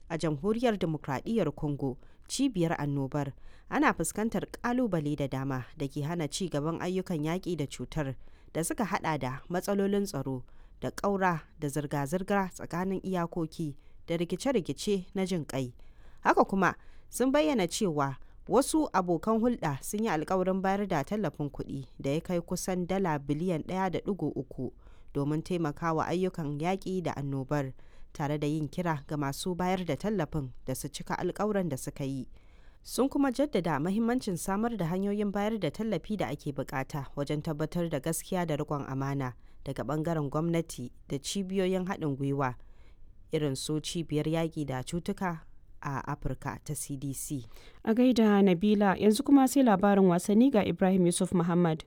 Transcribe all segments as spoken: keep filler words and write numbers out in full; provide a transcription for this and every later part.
A Jamhuriyar Dimokradiyyar Congo, cibiyar annobar, ana fuskantar kalubale da dama da ke hana ci gaban ayyukan yaƙi da cutar da suka hada da matsalolin tsaro da ƙaura da zirga-zirga tsakanin iyakoki da rikice-rikice na jin ƙai. Haka kuma sun bayyana cewa wasu abokan hulɗa sun yi alkawarin bayar da tallafin kuɗi da ya kai kusan dala biliyan ɗaya da ɗigo uku domin taimakawa ayyukan yaƙi da annobar, tare da yin kira ga masu bayar da tallafin da su cika alkawuran da suka yi. Sun kuma jaddada mahimmancin samar da hanyoyin bayar da tallafi da ake bukata wajen tabbatar da gaskiya da riƙon amana daga bangaren gwamnati da cibiyoyin haɗin gwiwa irin su Cibiyar Yaƙi da Cutuka a Afirka ta C D C. A gaida Nabila, yanzu kuma sai labarin wasanni ga Ibrahim Yusuf Muhammad.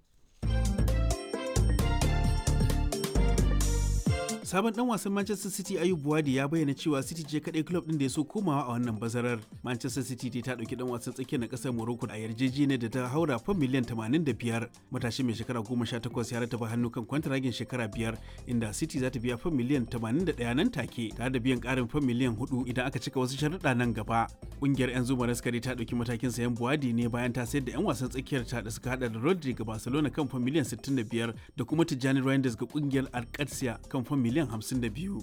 Sabon dan wasan Manchester City Ayub Buwadi ya bayyana cewa City ce kadai club din da ya so komawa a wannan bazarar. Manchester City dai ta dauki dan wasan tsakiyar na kasar Morocco a yarjejeniyar da ta haura fam miliyan tamanin da biyar. Matashi mai shekara goma sha takwas ya rataba hannu kan kwantaragin shekara biyar, inda City za ta biya fam miliyan tamanin da ɗaya nan take, tare da biyan karin fam miliyan hudu idan aka cika wasu sharuɗa nan gaba. Kungiyar 'yan zuma raskari ta dauki matakin sayan Buwadi ne bayan ta sayar da 'yan wasan tsakiyar ta da suka hada da Rodri ga Barcelona kan fam miliyan sittin da biyar da kuma Tijjani Reinders ga kungiyar Alcatia kan fam miliyan hamsin da biyu.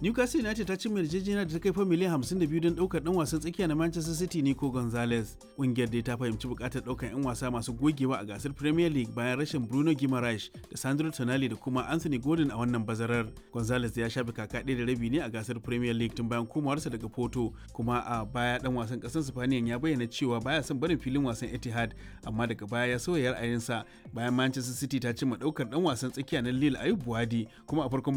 Newcastle United ta cimma yarjejeniya da ta kai fa miliyan hamsin da biyu don ɗaukar ɗan wasan tsakiya na Manchester City Nico Gonzalez. Ƙungiyar dai ta fahimci buƙatar ɗaukar 'yan wasa masu gogewa a gasar Premier League bayan rashin Bruno Guimaraes da Sandro Tonali da kuma Anthony Gordon a wannan bazarar. Gonzalez ya shafe kaka ɗaya da rabi ne a gasar Premier League tun bayan komawarsa daga Porto, kuma a baya ɗan wasan ƙasar Spaniyan ya bayyana cewa baya son barin filin wasan Etihad, amma daga baya ya sauya ra'ayinsa bayan Manchester City ta cimma ɗaukar ɗan wasan tsakiya na Lille Ayub Buwadi kuma a farkon